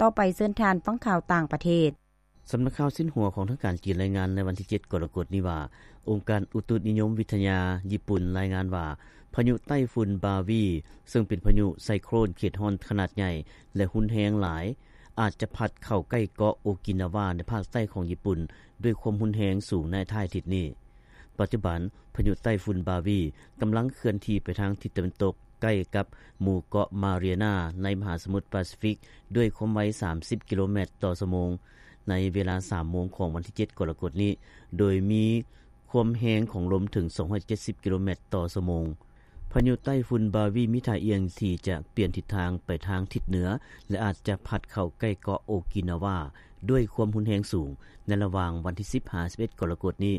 ຕໍ່ໄປເຊີນທ່ານຟັງຂ່າວຕ່າງປະເທດ. ສຳນັກຂ່າວຊິນຫົວຂອງທາງການຈີນລາຍງານໃນວັນທີເຈັດ ກໍລະກົດນີ້ວ່າ ອົງການອຸຕຸນິຍົມວິທະຍາຍີ່ປຸ່ນລາຍງານວ່າ ພາຍຸໃຕ້ຝຸ່ນບາວີ ເຊິ່ງເປັນພາຍຸໄຊໂຄຣນເຂດຮ້ອນຂະໜາດໃຫຍ່ ແລະ ຮຸນແຮງຫຼາຍ ອາດຈະພັດເຂົ້າໃກ້ເກາະໂອກິນາວາໃນພາກໃຕ້ຂອງຍີ່ປຸ່ນດ້ວຍຄວາມຮຸນແຮງສູງໃນທ້າຍອາທິດນີ້. ປັດຈຸບັນ ພາຍຸໃຕ້ຝຸ່ນບາວີກຳລັງເຄື່ອນທີ່ໄປທາງທິດຕາເວັນຕົກ ໃກ້ກັບໝູ່ເກາະມາເຣຍນາໃນມະຫາສະໝຸດປາຊີຟິກ ດ້ວຍຄວາມໄວສາມສິບກິໂລແມັດຕໍ່ຊົ່ວໂມງ ໃນເວລາສາມໂມງຂອງວັນທີເຈັດ ກໍລະກົດນີ້ ໂດຍມີຄວາມແຮງຂອງລົມເຖິງສອງຮ້ອຍເຈັດສິບກິໂລແມັດຕໍ່ຊົ່ວໂມງ. ພາຍຸໃຕ້ຝຸ່ນບາວີມີທ່າອ່ຽງທີ່ຈະປ່ຽນທິດທາງໄປທາງທິດເໜືອ ແລະ ອາດຈະພັດເຂົ້າໃກ້ເກາະໂອກິນາວາດ້ວຍຄວາມຮຸນແຮງສູງ ໃນລະຫວ່າງວັນທີສິບຫາສິບເອັດ ກໍລະກົດນີ້.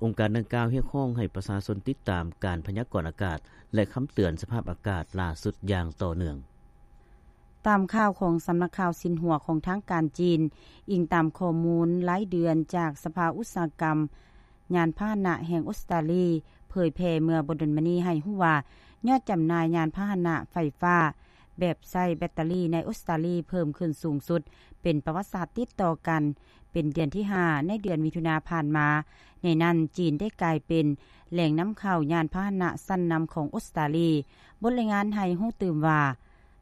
ອົງການດັ່ງກ່າວຮຽກຮ້ອງໃຫ້ປະຊາຊົນຕິດຕາມການພະຍາກອນອາກາດ ແລະ ຄຳເຕືອນສະພາບອາກາດຫຼ້າສຸດຢ່າງຕໍ່ເນື່ອງ. ຕາມຂ່າວຂອງສຳນັກຂ່າວຊິນຫົວຂອງທາງການຈີນ, ອີງຕາມຂໍ້ມູນລາຍເດືອນຈາກສະພາອຸດສາຫະກຳຍານພາຫະນະແຫ່ງອົດສະຕາລີ ເຜີຍແຜ່ເມື່ອບໍ່ດົນມານີ້ໃຫ້ຮູ້ວ່າ ຍອດຈຳໜ່າຍຍານພາຫະນະໄຟຟ້າແບບໃຊ້ແບັດເຕີຣີໃນອົດສະຕາລີເພີ່ມຂຶ້ນສູງສຸດເປັນປະຫວັດສາດຕິດຕໍ່ກັນ ເປັນເດືອນທີຫ້າໃນເດືອນມິຖຸນາຜ່ານມາ. ໃນນັ້ນ ຈີນໄດ້ກາຍເປັນແຫຼ່ງນຳເຂົ້າຍານພາຫະນະຊັ້ນນຳຂອງອົດສະຕາລີ. ບົດລາຍງານໃຫ້ຮູ້ຕື່ມວ່າ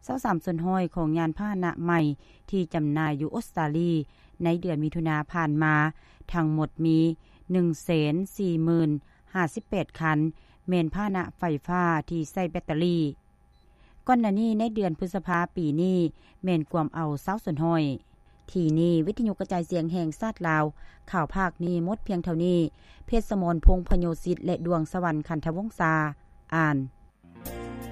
ຊາວສາມສ່ວນຮ້ອຍຂອງຍານພາຫະນະໃໝ່ທີ່ຈຳໜ່າຍຢູ່ອົດສະຕາລີໃນເດືອນມິຖຸນາຜ່ານມາ ທັງໝົດມີໜຶ່ງແສນສີ່ໝື່ນຫ້າສິບແປດຄັນ ແມ່ນພາຫະນະໄຟຟ້າທີ່ໃຊ້ແບັດເຕີຣີ. ກ່ອນໜ້ານີ້ໃນເດືອນພຶດສະພາປີນີ້ແມ່ນກວມເອົາຊາວສ່ວນຮ້ອຍ. ທີ່ນີ້ ວິທະຍຸກະຈາຍສຽງແຫ່ງຊາດລາວ ຂ່າວພາກນີ້ໝົດພຽງເທົ່ານີ້. ເພັດສະໝອນ ພົງພະໂຍສິດ ແລະ ດວງສະຫວັນ ຂັນທະວົງສາ ອ່ານ.